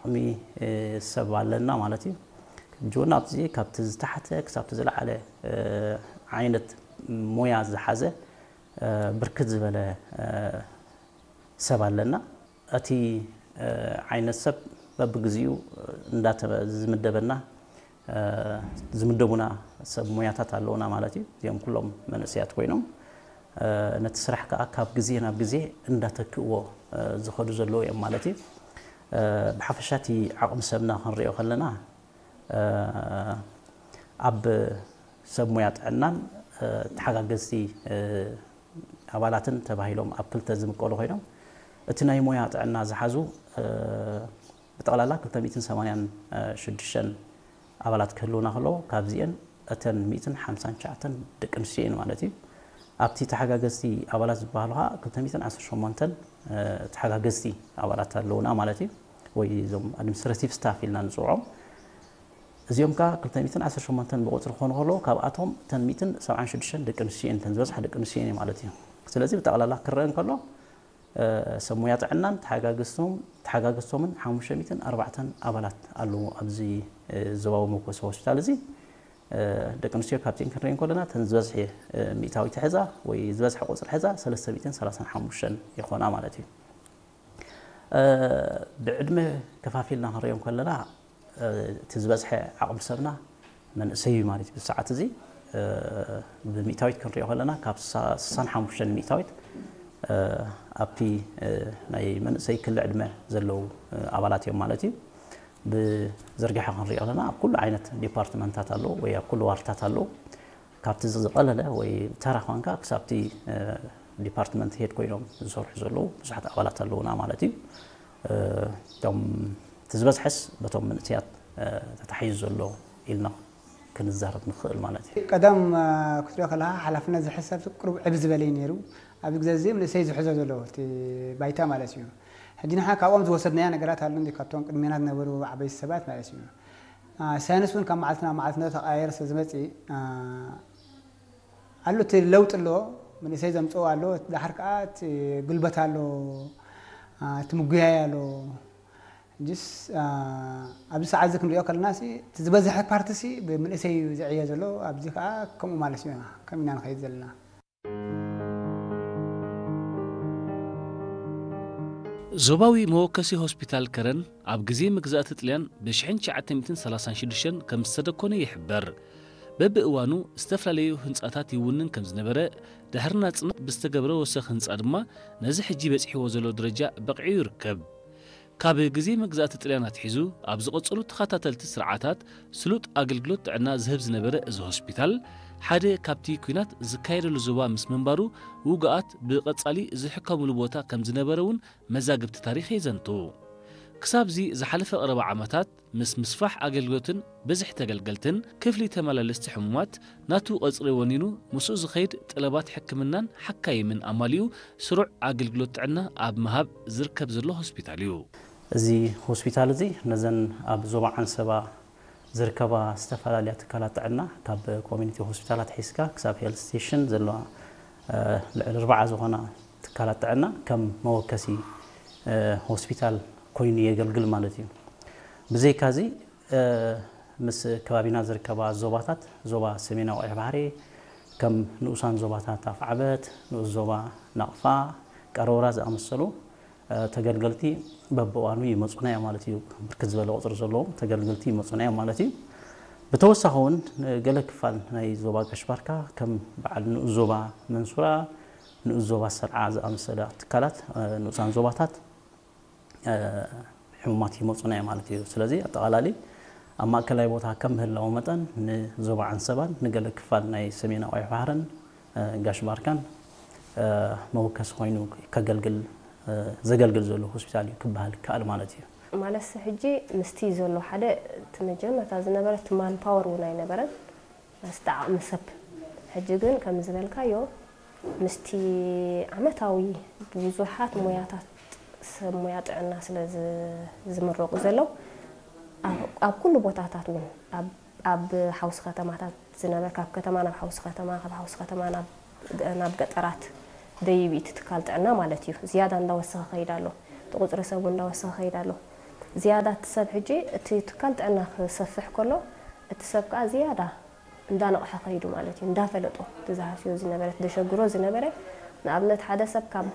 ዓቕሚ ሰብ ኣለና ማለት እዩ። ሕጂ እውን ኣብዚ ካብቲ ዝተሓተ ክሳብቲ ዝለዓለ ዓይነት ሞያ ዝሓዘ ብርክት ዝበለ ሰብ ኣለና። እቲ ዓይነት ሰብ በብግዚኡ እንዳተ ዝምደበና ዝምደቡና ሰብ ሞያታት ኣለውና ማለት እዩ። እዚኦም ኩሎም መንእሰያት ኮይኖም ነቲ ስራሕ ከዓ ካብ ግዜ ናብ ግዜ እንዳተክእዎ ዝኸዱ ዘለዉ እዮም ማለት እዩ። ብሓፈሻ እቲ ዓቕሚ ሰብና ክንሪኦ ከለና ኣብ ሰብ ሞያ ጥዕናን ተሓጋገዝቲ ኣባላትን ተባሂሎም ኣብ ክልተ ዝምቀሉ ኮይኖም፣ እቲ ናይ ሞያ ጥዕና ዝሓዙ ብጠቕላላ ክልተ ሚእትን ሰማንያን ሽዱሽተን ኣባላት ክህልውና ከለዉ፣ ካብዚኤን እተን ሚእትን ሓምሳን ትሽዓተን ደቂ ኣንስትዮ እየን ማለት እዩ። ኣብቲ ተሓጋገዝቲ ኣባላት ዝበሃሉ ከዓ ክልተ ሚእትን ዓሰርተ ሸሞንተን ተሓጋገዝቲ ኣባላት ኣለውና ማለት እዩ። ወይ እዞም ኣድሚኒስትራቲቭ ስታፍ ኢልና ንፅውዖም። እዚኦም ከዓ ክልተ ሚእትን ዓሰርተ ሸሞንተን ብቁፅሪ ክኾኑ ከለዉ፣ ካብኣቶም እተን ሚእትን ሰብዓን ሽዱሽተን ደቂ ኣንስትዮ እየን፣ እተን ዝበዝሓ ደቂ ኣንስትዮ እየን ማለት እዩ። ስለዚ ብጠቕላላ ክረአ እንከሎ ሰብ ሞያ ጥዕናን ተሓጋገዝቶም ተሓጋገዝቶምን ሓሙሽተ ሚእትን ኣርባዕተን ኣባላት ኣለዉ ኣብዚ ዞባዊ መኮሲ ሆስፒታል እዚ። ደቂ ኣንስትዮ ካብቲን ክንርኢ እንከለና እተን ዝበዝሐ ሚእታዊት ሕዛ ወይ ዝበዝሐ ቁፅሪ ሕዛ ሰለስተ ሚእትን ሰላሳን ሓሙሽተን ይኾና ማለት እዩ። ብዕድመ ከፋፊልና ክንሪኦም ከለና እቲ ዝበዝሐ ዓቕሚ ሰብና መንእሰይ እዩ ማለት እዩ። ብሰዓት እዚ ብሚእታዊት ክንሪኦ ከለና ካብ ስሳን ሓሙሽተን ሚእታዊት ኣብቲ ናይ መንእሰይ ክሊ ዕድመ ዘለዉ ኣባላት እዮም ማለት እዩ። ብዝርግሐ ክንሪኦ ከለና ኣብ ኩሉ ዓይነት ዲፓርትመንታት ኣለዉ ወይ ኣብ ኩሉ ዋርድታት ኣለዉ። ካብቲ ዝቐለለ ወይ ተራ ኳንካ ክሳብቲ ዲፓርትመንት ሄድ ኮይኖም ዝሰርሑ ዘለዉ ብዙሓት ኣባላት ኣለዉና ማለት እዩ። እቶም እቲ ዝበዝሐስ በቶም መንእሰያት ተታሒዙ ዘሎ ኢልና ክንዛረብ ንኽእል ማለት እዩ። ቀደም ክትሪኦ ከለኻ ሓላፍነት ዝሕሰብ ቁሩብ ዕብ ዝበለ እዩ ነይሩ። ኣብዚ ግዜ እዚ መንእሰይ ዝሕዞ ዘሎ እቲ ባይታ ማለት እዩ። ሕጂ ንሕና ካብኦም ዝወሰድናዮ ነገራት ኣሎ እንዲ ካብቶም ቅድሜና ዝነበሩ ዓበይቲ ሰባት ማለት እዩ። ሳይንስ እውን ካብ መዓልቲ ናብ መዓልቲ እንዳተቐያየረ ስለ ዝመፅእ ኣሎ እቲ ለውጢ ኣሎ፣ መንእሰይ ዘምፅኦ ኣሎ፣ ዳሕር ከዓ እቲ ጉልበት ኣሎ፣ እቲ ምጉያይ ኣሎ። ሕጅስ ኣብዚ ሰዓት እዚ ክንሪኦ ከለና እቲ ዝበዝሐ ፓርቲ ሲ ብመንእሰይ እዩ ዝዕየ ዘሎ። ኣብዚ ከዓ ከምኡ ማለት እዩ ከም ኢና ንኸይድ ዘለና። ዞባዊ መወከሲ ሆስፒታል ከረን ኣብ ግዜ መግዛእቲ ጥልያን ብ ሽሕን ትሽዓተ ሚእትን ሰላሳን ሽዱሽተን ከም ዝተደኮነ ይሕበር። በብእዋኑ ዝተፈላለዩ ህንጻታት ይውንን ከም ዝነበረ፣ ድሕሪ ናጽነት ብዝተገብረ ወሰኽ ህንጻ ድማ ነዚ ሕጂ በጺሕዎ ዘሎ ደረጃ በቒዑ ይርከብ። ካብ ግዜ መግዛእቲ ጥልያን ኣትሒዙ ኣብ ዝቐጸሉ ተኸታተልቲ ስርዓታት ስሉጥ ኣገልግሎት ጥዕና ዝህብ ዝነበረ እዚ ሆስፒታል፣ ሓደ ካብቲ ኲናት ዝካየደሉ ዞባ ምስ ምንባሩ፣ ውጉኣት ብቐጻሊ ዝሕከሙሉ ቦታ ከም ዝነበረ እውን መዛግብቲ ታሪኽ የዘንቱ። ክሳብዚ ዝሓለፈ ቀረባ ዓመታት፣ ምስ ምስፋሕ ኣገልግሎትን ብዝሒ ተገልገልትን፣ ክፍሊ ተመላለስቲ ሕሙማት ናቱ ቀጽሪ ወኒኑ፣ ምስኡ ዝኸይድ ጠለባት ሕክምናን ሓካይምን ኣማሊኡ፣ ስሩዕ ኣገልግሎት ጥዕና ኣብ ምሃብ ዝርከብ ዘሎ ሆስፒታል እዩ። እዚ ሆስፒታል እዚ ነዘን ኣብ ዞባ ዓንሰባ ዝርከባ ዝተፈላለያ ትካላት ጥዕና፣ ካብ ኮሚኒቲ ሆስፒታላት ሒዝካ ክሳብ ሄልት ስቴሽን ዘለዋ ልዕሊ ኣርብዓ ዝኾና ትካላት ጥዕና ከም መወከሲ ሆስፒታል ኮይኑ የገልግል ማለት እዩ። ብዘይካዚ ምስ ከባቢና ዝርከባ ዞባታት፣ ዞባ ሰሜናዊ ቀይሕ ባሕሪ ከም ንኡሳን ዞባታት ኣፍዓበት፣ ንኡስ ዞባ ናቕፋ፣ ቀረውራ ዝኣመሰሉ ተገልገልቲ በብእዋኑ ይመፁና እዮም ማለት እዩ። ብርክት ዝበለ ቁፅሪ ዘለዎም ተገልገልቲ ይመፁና እዮም ማለት እዩ። ብተወሳኺ እውን ገለ ክፋል ናይ ዞባ ጋሽ ባርካ ከም በዓል ንኡስ ዞባ መንሱራ፣ ንኡስ ዞባ ሰርዓ ዝኣመሰላ ትካላት ንኡሳን ዞባታት ሕሙማት ይመፁና እዮም ማለት እዩ። ስለዚ ኣጠቓላሊ ኣብ ማእከላይ ቦታ ከም ምህላው መጠን ንዞባ ዓንሰባን ንገለ ክፋል ናይ ሰሜናዊ ቀይሕ ባሕርን ጋሽ ባርካን መወከሲ ኮይኑ ከገልግል ዘገልግል ዘሎ ሆስፒታል እዩ ክበሃል ይከኣል ማለት እዩ። ማለትሲ ሕጂ ምስቲ ዘሎ ሓደ እቲ መጀመርታ ዝነበረ እቲ ማን ፓወር እውን ኣይነበረን። መስተ ዓቕሚ ሰብ። ሕጂ ግን ከም ዝበልካዮ ምስቲ ዓመታዊ ብዙሓት ሞያታት ሰብ ሞያ ጥዕና ስለ ዝምረቑ ዘለዉ ኣብ ኩሉ ቦታታት እውን ኣብ ሓውሲ ከተማታት ዝነበር ካብ ከተማ ናብ ሓውሲ ከተማ ካብ ሓውሲ ከተማ ናብ ገጠራት ደይብ እቲ ትካል ጥዕና ማለት እዩ ዝያዳ እንዳወሰኸ ከይድ ኣሎ። እቲ ቁፅሪ ሰብ እውን እንዳወሰኸ ከይድ ኣሎ። ዝያዳ እቲ ሰብ ሕጂ እቲ ትካል ጥዕና ክሰፍሕ ከሎ እቲ ሰብ ከዓ ዝያዳ እንዳነቕሐ ከይዱ ማለት እዩ። እንዳፈለጦ እቲ ዝሃስዮ ዝነበረ፣ እቲ ዘሸግሮ ዝነበረ፣ ንኣብነት ሓደ ሰብ ካብ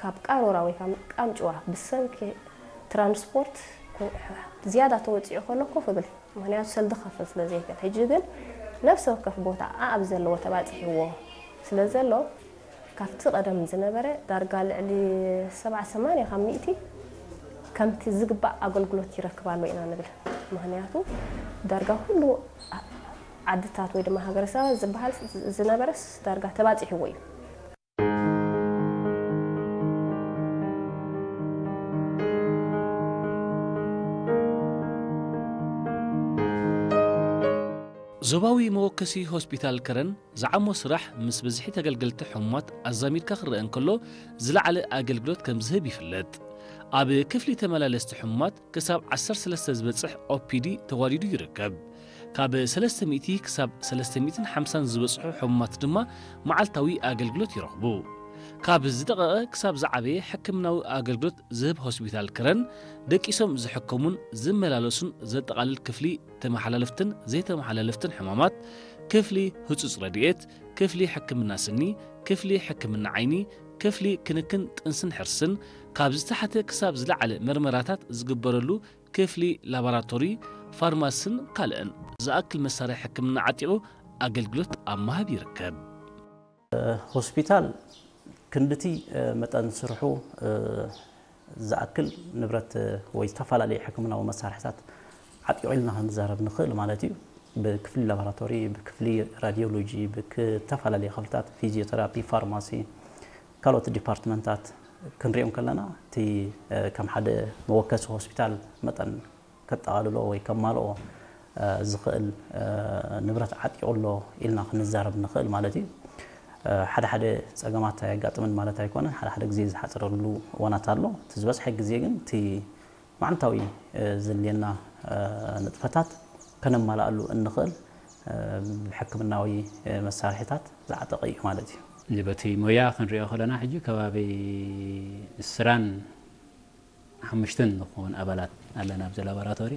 ካብ ቃሮራ ወይ ካብ ቃንጭዋ ብሰንኪ ትራንስፖርት ዝያዳ ተወፂኡ ከሎ ኮፍ ብል፣ ምክንያቱ ሰልዲ ክኸፍል ስለ ዘይክእል። ሕጂ ግን ነፍሲ ወከፍ ቦታ ኣኣብ ዘለዎ ተባፂሕዎ ስለ ዘሎ ካብቲ ቀደም ዝነበረ ዳርጋ ልዕሊ ሰብዓ ሰማንያ ካብ ሚእቲ ከምቲ ዝግባእ ኣገልግሎት ይረክብ ኣሎ ኢና ንብል። ምክንያቱ ዳርጋ ኩሉ ዓድታት ወይ ድማ ሃገረሰባት ዝበሃል ዝነበረስ ዳርጋ ተባፂሕዎ እዩ። ዞባዊ መወከሲ ሆስፒታል ከረን ዝዓሞ ስራሕ ምስ ብዝሒ ተገልገልቲ ሕሙማት ኣዛሚድካ ክረአ እንከሎ ዝለዓለ ኣገልግሎት ከም ዝህብ ይፍለጥ። ኣብ ክፍሊ ተመላለስቲ ሕሙማት ክሳብ ዓሰርተ ሰለስተ ዝበጽሕ ኦፒዲ ተዋዲዱ ይርከብ። ካብ ሰለስተ ሚእቲ ክሳብ ሰለስተ ሚእትን ሓምሳን ዝበጽሑ ሕሙማት ድማ መዓልታዊ ኣገልግሎት ይረኽቡ። ካብ ዝደቐቐ ክሳብ ዝዓበየ ሕክምናዊ ኣገልግሎት ዝህብ ሆስፒታል ክረን ደቂሶም ዝሕከሙን ዝመላለሱን ዘጠቓልል ክፍሊ ተመሓላለፍትን ዘይተመሓላለፍትን ሕማማት፣ ክፍሊ ህጹጽ ረድኤት፣ ክፍሊ ሕክምና ስኒ፣ ክፍሊ ሕክምና ዓይኒ፣ ክፍሊ ክንክን ጥንስን ሕርስን፣ ካብ ዝተሓተ ክሳብ ዝለዓለ መርመራታት ዝግበረሉ ክፍሊ ላቦራቶሪ፣ ፋርማስን ካልእን ዝኣክል መሳርሒ ሕክምና ዓጢቑ ኣገልግሎት ኣብ ምሃብ ይርከብ። ሆስፒታል ክንድቲ መጠን ስርሑ ዝኣክል ንብረት ወይ ዝተፈላለዩ ሕክምናዊ መሳርሕታት ዓጢቑ ኢልና ክንዛረብ ንኽእል ማለት እዩ። ብክፍሊ ላቦራቶሪ፣ ብክፍሊ ራዲዮሎጂ፣ ብዝተፈላለየ ክፍልታት ፊዚዮቴራፒ፣ ፋርማሲ፣ ካልኦት ዲፓርትመንታት ክንሪኦም ከለና እቲ ከም ሓደ መወከሲ ሆስፒታል መጠን ከጠቓልሎ ወይ ከማልኦ ዝኽእል ንብረት ዓጢቑ ኣሎ ኢልና ክንዛረብ ንኽእል ማለት እዩ። ሓደ ሓደ ፀገማት ኣየጋጥምን ማለት ኣይኮነን። ሓደ ሓደ ግዜ ዝሓፅረሉ እዋናት ኣሎ። እቲ ዝበዝሐ ግዜ ግን እቲ መዓልታዊ ዘድልየና ንጥፈታት ከነማልኣሉ እንኽእል ብሕክምናዊ መሳርሒታት ዝዓጠቐ እዩ ማለት እዩ። በቲ ሞያ ክንሪኦ ከለና ሕጂ ከባቢ ዕስራን ሓሙሽተን ንኸውን ኣባላት ኣለና ኣብዚ ላቦራቶሪ።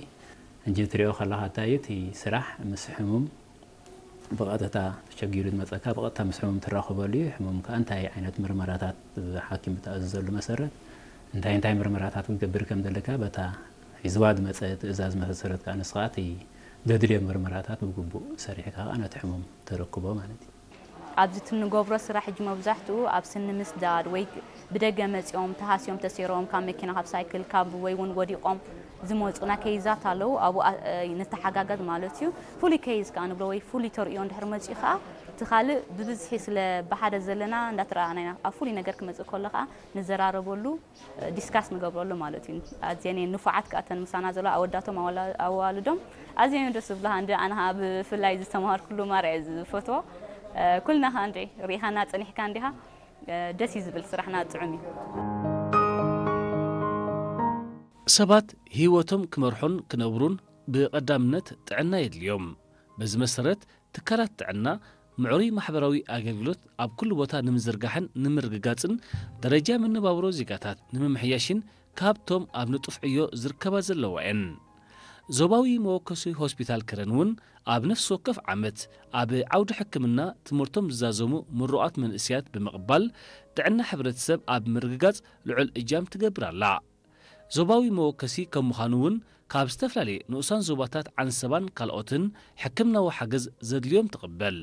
ሕጂ ትሪኦ ከለኻ እንታይ እዩ እቲ ስራሕ ምስ ሕሙም ብቐጥታ ተሸጊሩ ዝመፀካ ብቐጥታ ምስ ሕሙም ትራኸበሉ እዩ። ሕሙም ከዓ እንታይ ዓይነት ምርመራታት ብሓኪም ብተኣዘዘሉ መሰረት እንታይ እንታይ ምርመራታት ክትገብር ከም ዘለካ በታ ሒዝዋ ዝመፀ ትእዛዝ መሰረት ከዓ ንስኻ እቲ ዘድልዮ ምርመራታት ብግቡእ ሰሪሕካ ከዓ ነቲ ሕሙም ተረክቦ ማለት እዩ። ኣብዚ እቲ እንገብሮ ስራሕ ሕጂ መብዛሕትኡ ኣብ ስኒ ምስዳድ ወይ ብደገ መፂኦም ተሃስዮም ተሰይሮም ካብ መኪና ካብ ሳይክል ካብ ወይ እውን ወዲቖም ዝመፁና ኬይዛት ኣለዉ። ኣብኡ ንተሓጋገዝ ማለት እዩ። ፍሉይ ኬይዝ ከዓ ንብሎ ወይ ፍሉይ ተርእዮ እንድሕር መፂኡ ከዓ እቲ ካልእ ብብዝሒ ስለ ብሓደ ዘለና እንዳተረኣኣና ኢና ኣብ ፍሉይ ነገር ክመፅእ ከሎ ከዓ ንዘራረበሉ ዲስካስ ንገብረሉ ማለት እዩ። ኣዝየን እየን ንፉዓት ከኣ እተን ምሳና ዘለዋ ኣወዳቶም ኣዋላ- ኣዋልዶም ኣዝየን እዮም ደስ ዝብሉኻ። እንዲ ኣነ ኸኣ ብፍላይ ዝተምሃርኩሉ ማራ እየ ዝፈትዎ። ኩልና ኸኣ እንዲ ርኢኻና ጸኒሕካ እንዲኻ ደስ እዩ ዝብል ስራሕና ጥዑም እዩ። ሰባት ህይወቶም ክመርሑን ክነብሩን ብቐዳምነት ጥዕና የድልዮም። በዚ መሰረት ትካላት ጥዕና ምዕሩይ ማሕበራዊ ኣገልግሎት ኣብ ኩሉ ቦታ ንምዝርጋሕን ንምርግጋጽን ደረጃ መነባብሮ ዜጋታት ንምምሕያሽን ካብቶም ኣብ ንጡፍ ዕዮ ዝርከባ ዘለዋ እየን። ዞባዊ መወከሲ ሆስፒታል ከረን እውን ኣብ ነፍሲ ወከፍ ዓመት ኣብ ዓውዲ ሕክምና ትምህርቶም ዝዛዘሙ ምሩቓት መንእሰያት ብምቕባል ጥዕና ሕብረተሰብ ኣብ ምርግጋጽ ልዑል እጃም ትገብር ኣላ። ዞባዊ መወከሲ ከም ምዃኑ እውን ካብ ዝተፈላለየ ንኡሳን ዞባታት ዓንሰባን ካልኦትን ሕክምናዊ ሓገዝ ዘድልዮም ትቕበል።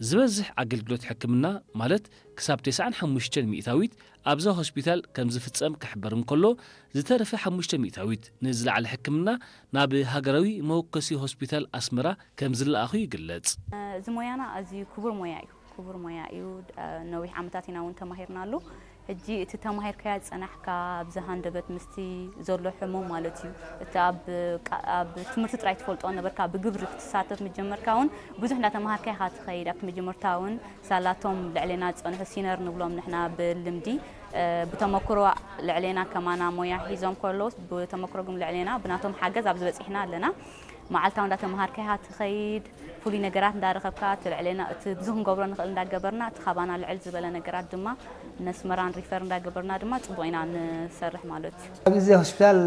ዝበዝሕ ኣገልግሎት ሕክምና ማለት ክሳብ ተስዓን ሓሙሽተን ሚእታዊት ኣብዛ ሆስፒታል ከም ዝፍጸም ክሕበር እንከሎ ዝተረፈ ሓሙሽተ ሚእታዊት ንዝለዓለ ሕክምና ናብ ሃገራዊ መወከሲ ሆስፒታል ኣስመራ ከም ዝለኣኹ ይግለጽ። እዚ ሞያና ኣዝዩ ክቡር ሞያ እዩ። ክቡር ሞያ እዩ። ነዊሕ ዓመታት ኢና እውን ተማሂርናሉ። ሕጂ እቲ ተማሂርካዮ ዝጸናሕካ ኣብዚ ሃንደበት ምስቲ ዘሎ ሕሙም ማለት እዩ። እቲ ኣብ ቃ- ኣብ ትምህርቲ ጥራይ ትፈልጦ ነበርካ፣ ብግብሪ ክትሳተፍ ምጀመርካ እውን ብዙሕ እንዳተማሃርካ ኢኻ ትኸይድ። ኣብቲ መጀመርታ እውን ሳላቶም ልዕሌና ዝጸንሑ ሲነር ንብሎም ንሕና ብልምዲ ብተመክሮ ልዕሌና ከማና ሞያ ሒዞም ከለዉ ብተመክሮ ግን ልዕሌና ብናቶም ሓገዝ ኣብዚ በጺሕና ኣለና። መዓልታዊ እንዳተምሃርካ ኢኻ ትኸይድ። ፍሉይ ነገራት እንዳረኸብካ እቲ ልዕሌና እቲ ብዙ ክንገብሮ ንኽእል እንዳገበርና እቲ ካባና ልዕል ዝበለ ነገራት ድማ ነስመራን ሪፈር እንዳገበርና ድማ ጽቡቕ ኢና ንሰርሕ ማለት እዩ። ኣብዚ ሆስፒታል